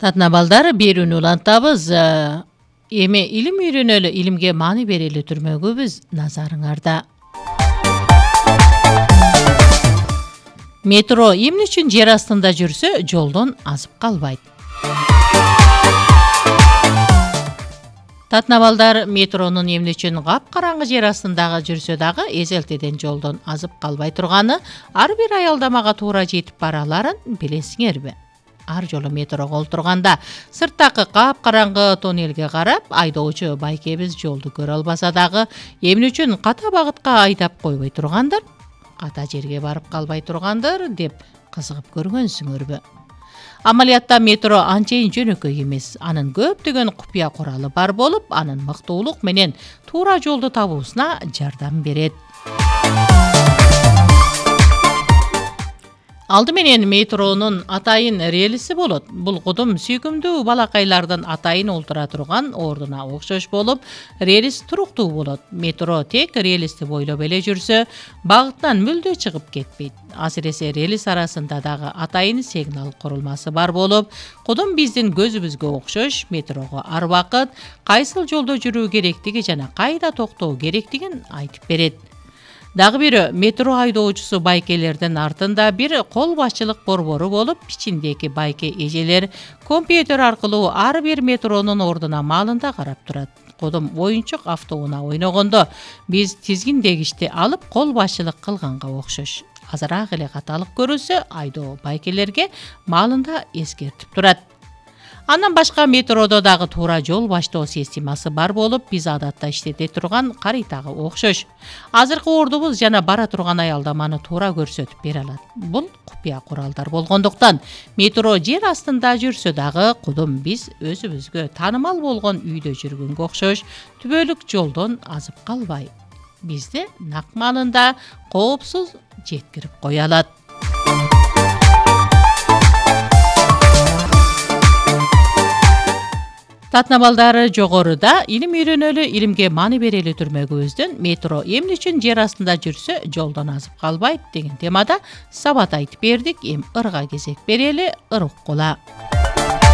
Татына балдар берүүнү улантабыз. Эми илим үйрөнөлү, илимге маани берели түрмөгүбүз назарыңарда. Метро эмне үчүн жер астында жүрсө, жолдон азып калбайт? Татына балдар, метронун эмне үчүн капкараңгы жер астындагы жүрсө дагы эзелтеден жолдон азып калбай турганы, ар бир аялдамага туура жетип бараларын билесиңерби? Ар жолу метрого олтурганда сырттагы капкараңгы тоннелге карап, айдоочу байкебиз жолду көрө албаса дагы, эмне үчүн ката багытка айдап койбой тургандыр? Ката жерге барып калбай тургандыр деп кызыгып көргөнсүңөрбү? Амалиятта метро анчейин жөнөкөй эмес. Анын көптөгөн купуя куралы бар болуп, анын мыктуулук менен туура жолду табуусуна жардам берет. Алды менен метронун атайын релиси болот. Бул кудум сүйкүмдүү балакайлардын атайын олтура турган ордуна окшош болуп, релис туруктуу болот. Метро тек релисти бойлоп эле жүрсө, багытынан мүлдө чыгып кетпейт. Асиресе релис арасында дагы атайын сигнал курулмасы бар болуп, кудум биздин көзүбүзгө окшош метрого ар убакыт кайсыл жолдо жүрүү керектиги жана кайда токтоо керектигин айтып берет. Дагы бирөө, метро айдоочусу байкелердин артында бир кол башчылык борбору болуп, ичиндеги байке эжелер компьютер аркылуу ар бир метронун ордуна маалында карап турат. Кудум оюнчук автоунаа ойногондо биз тизгиндегичти алып кол башчылык кылганга окшош. Азыраак эле каталык көрүлсө, айдоо байкелерге маалында эскертип турат. Андан башка метродо дагы туура жол баштоо системасы бар болуп, биз адатта иштете турган каритага окшош. Азыркы ордубуз жана бара турган аялдаманы туура көрсөтүп бере алат. Бул купуя куралдар болгондуктан метро жер астында жүрсө дагы, кудум биз өзүбүзгө таанымал болгон үйдө жүргөнгө окшош түбөлүк жолдон азып калбай, бизди нак маалында коопсуз жеткирип кое алат. Татына балдар, жогоруда илим үйрөнөлү, илимге маани берели түрмөгүбүздүн метро эмне үчүн жер астында жүрсө, жолдон азып калбайт деген темада сабат айтып бердик. Эми ырга кезек берели, ыр уккула.